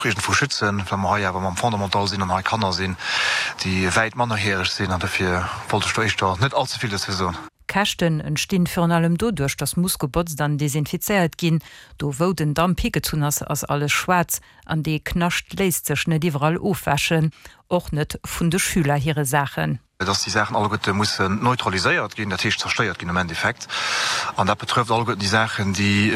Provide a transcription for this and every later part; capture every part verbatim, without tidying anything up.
Iergendwou schützen, well mer hei awer mam Fondamental sinn an hei Kanner sinn, déi wäit mannerjäreg sinn an dofir wollt ech do éischter net allze vill dozou soen. Käschten entstinn virun allem doduerch, dass muss gebotzt an desinfizéiert ginn. Do wou den Damp higezunn ass, ass alles schwaarz an dee Knascht léisst sech net iwwerall ofwäschen, och net vun de Schüler hire Saachen. Dass déi Saachen alleguerte mussen neutraliséiert ginn, dat heescht zerstéiert ginn am Endeffekt. An dat betrëfft alleguerten déi Saachen, déi,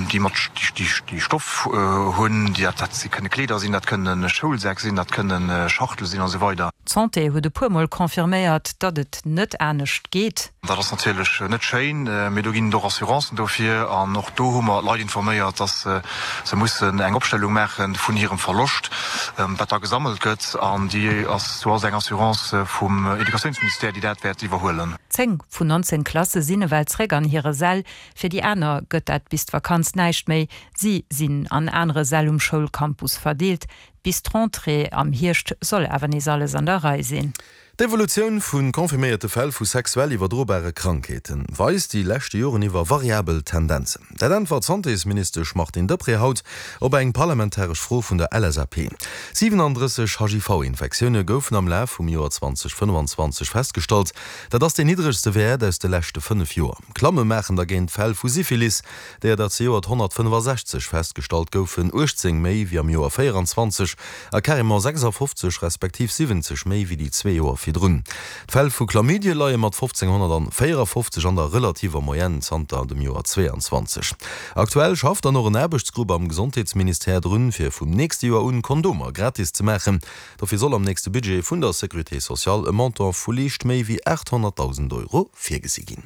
déi mat, déi, déi Stoff hunn, déi, dat kënne Kleeder sinn, dat kënne Schoulsäck sinn, dat kënne Schachtele sinn a sou weider. D'Santé huet e puer Mol confirméiert, datt et net anescht geet. Dat ass natierlech net schéin, mee do ginn et och Assurancen dofir. An och do hu mer d'Leit informéiert, dass se mussen eng Opstellung maache vun hirem Verloscht, wat da gesammelt gëtt. An déi ass, do ass eng Assurance vum Educatiounsministère, déi dat wäert iwwerhuelen. Zéng vun nonzéng Klasse sinn ewell zréck an hire Säll. Fir déi aner gëtt dat bis d'Vakanz näischt méi. Si sinn an anere Säll um Schoulcampus verdeelt. Bis d'Rentrée am Hierscht soll awer nees alles an der Rei sinn. D'Evolutioun vu confirméierte Fäll vu sexuell iwwerdrobare Krankheete weist déi leschte Joren iwwer variabel Tendenzen. Dat äntwert d'Santésministesch Martine Deprez haut op eng parlamentaresch Fro vun der L S A P. siwenandrësseg H I V-Infektioune goufen am Laf vum Joer zweitausendfënnefanzwanzeg festgestallt. Dat ass deen niddregste Wäert aus de leschte fënnef Joer. Klamme maachen dergéint d'Fäll vu Syphilis, déier der zejoert honnertfënnefasechzeg festgestallt goufen, uechtzéng méi wéi am Joer véieranzwanzeg a carrément sechsafofzeg respektiv siwwenzeg méi wéi déi zwee Joer virdrun. D'Fäll vu Chlamydie leie mat fofzénghonnertvéierafofzeg an der relativer Moyenne zanter dem Joer zweeanzwanzeg. Aktuell schafft dann och en Aarbechtsgrupp am Gesondheetsministère drun, fir vum nächste Joer un Kondomer gratis ze maachen. Dofir soll am nächste Budget vun der Sécurité sociale e Montant vu liicht méi wéi aathonnertdausend Euro virgesi ginn.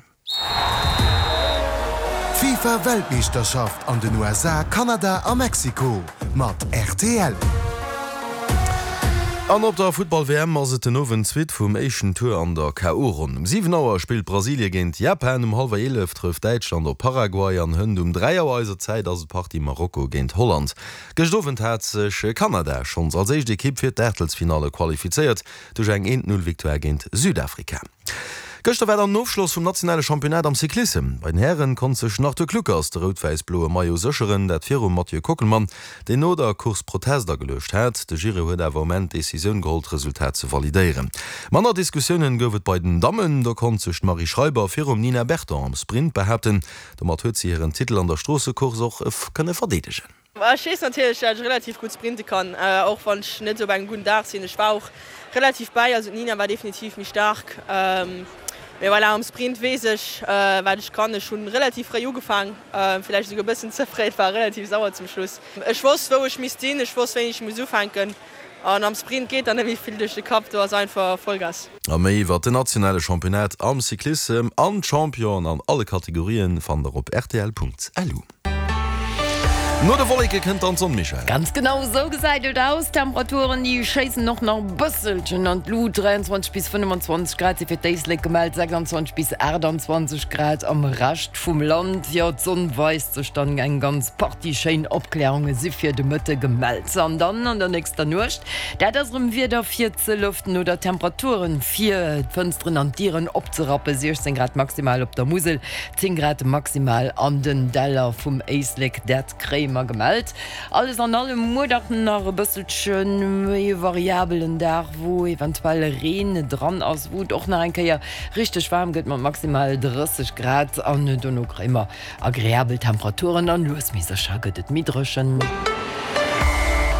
D'FIFA-Weltmeeschterschaft an den U S A, Kanada a Mexiko mat R T L. An op der Futtball-W M ass et den Owend d'Suite vum éischten Tour an der K O-Ronn. Um siwen Auer spillt Brasilie géint Japan, um hallwer eelef trëfft Däitschland op Paraguay an hënt um dräi Auer eiser Zäit ass et d'Partie Marokko géint Holland. Gëscht Owend hat sech Kanada schonns als éischt Ekipp fir d'Aachtelsfinalle qualifizéiert duerch eng eent-null-Victoire géint Südafrika. Gëschter war dann den Ofschloss vum nationale Championnat am Cyclissem. Bei den Hären konnt sech den Arthur Kluckers de rout-wäiss-bloe Maillot sécheren, dat virum Mathieu Kockelmann, deen no der Course Protest ageluecht hat. De Jury huet awer um Enn d'Decisioun geholl, d'Resultat ze validéieren. Manner Diskussiounen gouf et bei den Dammen. Do konnt sech d'Marie Schreiber virum Nina Berton am Sprint behaapten. Domat huet si hiren Titel an der Stroossecourse och kënne verdeedegen. Ech weess natierlech, dass ech relativ gutt sprinte kann, och wann ech net op engem gudden Dag sinn. Ech war och relativ bäi, also d'Nina war definitiv méi staark. Mee voilà, am Sprint weess ech, wat ech kann. Ech hunn relativ fréi ugefaangen, vläicht esouguer e bëssen ze fréi, et war relativ sauer zum Schluss. Ech wosst, wou ech misst sinn, ech wosst, wéini ech muss ufänken. An am Sprint geet dann net méi vill duerch de Kapp, do ass einfach Vollgas. A méi iwwer den nationale Championnat am Cyclissem an d'Championen an alle Kategorien fannt der op R T L Punkt L U. No de Wolleke kënnt dann d'Sonn, Michèle. Ganz genau esou gesäit et aus. D'Temperaturen, déi schéissen och nach e bësselchen an d'Lut. dräianzwanzeg bis fënnefenzwanzeg Grad si fir d'Éislek gemellt, sechsandzwanzeg bis aachtandzwanzeg Grad am Rescht vum Land. Jo, d'Sonn weist sech dann, eng ganz Partie schéin Opklärunge si fir de Mëtte gemellt. An dann an der nächster Nuecht, dat ass erëm Wieder fir ze lëften oder Temperaturen fir d'Fënsteren an d'Dieren opzerappen, siechzéng Grad maximal op der Musel, zéng Grad maximal an den Däller vum Éislek. Dat kréie mer gemellt. Alles an allem muer dach nach e bësselche méi variabelen Dag, wou eventuell Reen dran ass, wou et och nach eng Kéier richteg waarm gëtt mat maximal drësseg Grad. An dono kréie mer agreabel Temperaturen an lues mee sécher gëtt et méi dréchen.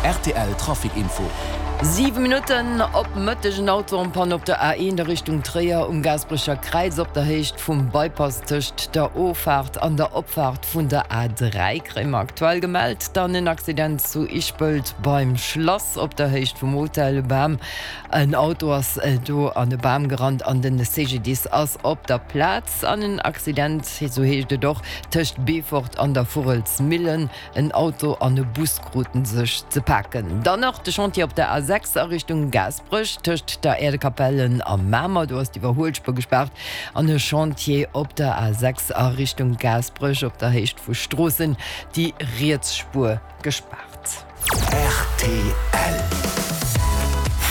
R T L Trafic Info. Siwe Minutten op Mëtteg, en Auto en panne op der A eent a Richtung Tréier um Gaasperecher Kräiz op der Héicht vum Bypass tëscht der Offaart an der Opfaart vun der A dräi kréie mer aktuell gemellt. Dann en Accident zu Ischpelt beim Schlass op der Héicht vum Hotel Bam. En Auto ass do an e Bam gerannt an den C G D I S ass op der Plaz. An en Accident, esou heescht et och, tëscht Beefort an der Vurelsmillen. En Auto an e Bus kruten sech ze paken. Dann nach de Chantier op der A sechs a Richtung Gaasperech tëscht der Äerdekapellen a Mamer. Do ass d'Iwwerhuelspuer gespaart. An e Chantier op der A sechs a Richtung Gaasperech op der Héicht vu Stroossen, déi Rietsspuer gespaart. R T L.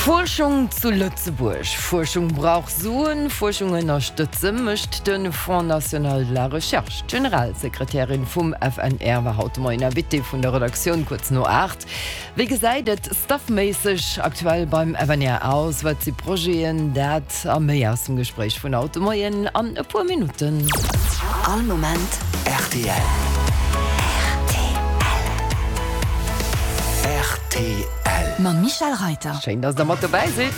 Fuerschung zu Lëtzebuerg. Fuerschung brauch Suen, Fuerschung ënnerstëtze mécht de Fonds national de la recherche. D'Generalsekretärin vum F N R war haut de Moien Invitée vun der Redaktioun kuerz no aacht. Wéi gesäit et staffméisseg aktuell beim F N R aus? Wat si Projeten? Dat a méi aus dem Gespréich vun haut de Moien an e puer Minutten. All Moment R T L. R T L. R T L. Mam Michèle Reyter. Schéin, dass der mat dobäi sidd.